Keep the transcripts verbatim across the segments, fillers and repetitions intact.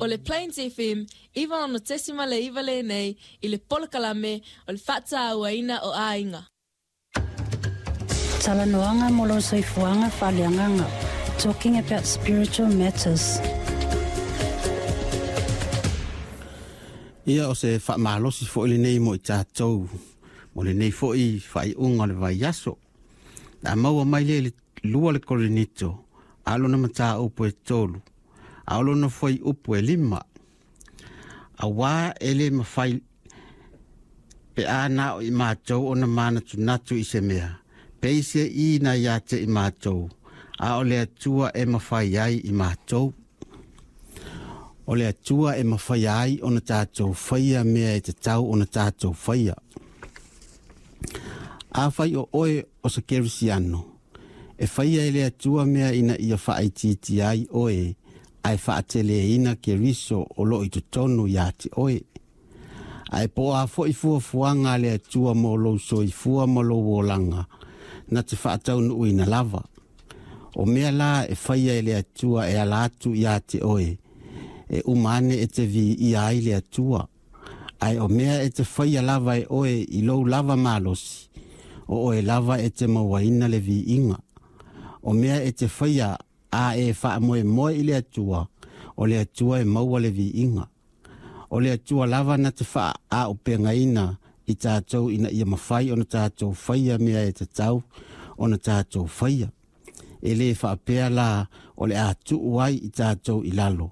O le Plains F M, iva ono tesima le iva lenei, i le polokalame o le faatauaina o aiga. Talanoaga mo lou soifuaga faaleagaga. Talking about spiritual matters. Ia o se faamalosi foʻi lenei mo i tatou mo lenei foʻi faaiuga o le vaiaso. A maua mai lea i le lua le Korinito, a lona mataupu e tolu, a o lona fuaiupu e lima. Auā e lē mafai pe a na o i matou ona manatunatu i se mea, peiseai na iā te i matou, a o le Atua e mafai ai i matou. O le Atua e mafai ai ona tatou faia mea e tatau ona tatou faia. Afai o oe o se kerisiano, e faia e le Atua mea ina ia faaitiitia ai oe, ae faateleina Keriso o loo i totonu iā te oe. Ae po o a foʻi fuafuaga a le Atua mo lou soifua ma lou olaga, na te faataunuuina lava. O mea la e faia e le Atua e ala atu iā te oe, e uma ane e te viia ai le Atua. Ae o mea e te faia lava e oe i lou lava malosi, o oe lava e te mauaina le viiga. O mea e te faia a e faamoemoe i le Atua, o le Atua e maua le viiga. O le Atua lava na te faaaupegaina i tatou ina ia mafai ona tatou faia mea e tatau ona tatou faia. E lē faapea la o le a tuu ai i tatou i lalo,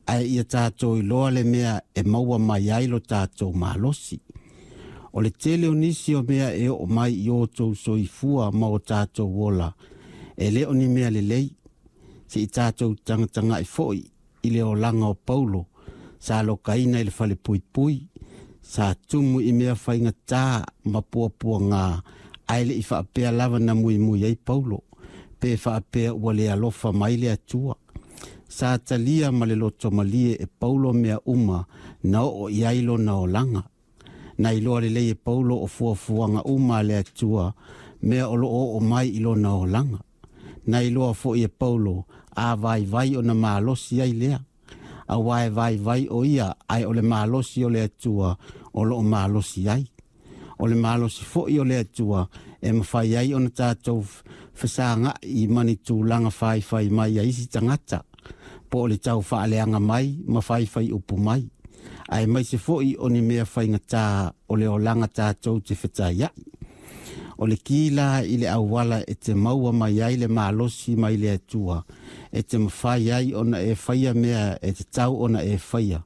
ae ia tatou iloa le mea e maua mai ai lo tatou malosi. O le tele o nisi o mea e oo mai i o outou soifua ma o tatou ola, e lē o ni mea lelei. Seʻi tatou tagatagaʻi foʻi i le olaga o Paulo, sa lokaina i le falepuipui, sa tumu i mea faigatā ma puapuagā, ae leʻi faapea lava na muimui ai Paulo, pe faapea ua le alofa mai le Atua. Sa talia ma le loto malie e Paulo mea uma na oo i ai lona olaga. Na iloa lelei e Paulo o fuafuaga uma a le Atua, mea o loo oo mai i lona olaga. Na iloa foʻi e Paulo a vaivai ona malosi ai lea. Auā e vaivai o ia, ae o le malosi o le Atua o loo malosi ai. O le malosi foʻi o le Atua e mafai ai ona tatou fesagaʻi ma ni tulaga faifai mai a isi tagata, po o le tau faaleaga mai ma faifai upu mai, ae maise foʻi o ni mea faigatā o le olaga tatou te fetaiaʻi. O le ki la i le auala e te maua mai ai le malosi mai le Atua, e te mafai ai ona e faia mea e tatau ona e faia.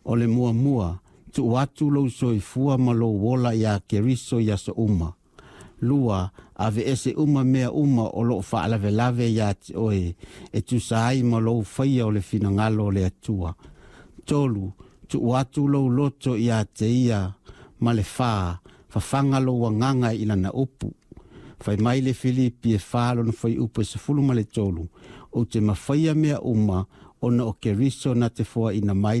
O le muamua, tuu atu lou soifua ma lou ola iā Keriso i aso uma. Lua, aveese uma mea uma o loo faalavelave iā te oe, e tusa ai ma lou faia o le finagalo o le Atua. Tolu, tuu atu lou loto iā te ia, ma le fā, fafaga lou agaga i lana upu. Fai mai le Filipi e fa lona fuaiupu e sefulu ma le tolu, ou te mafaia mea uma, ona o Keriso na te foaina mai le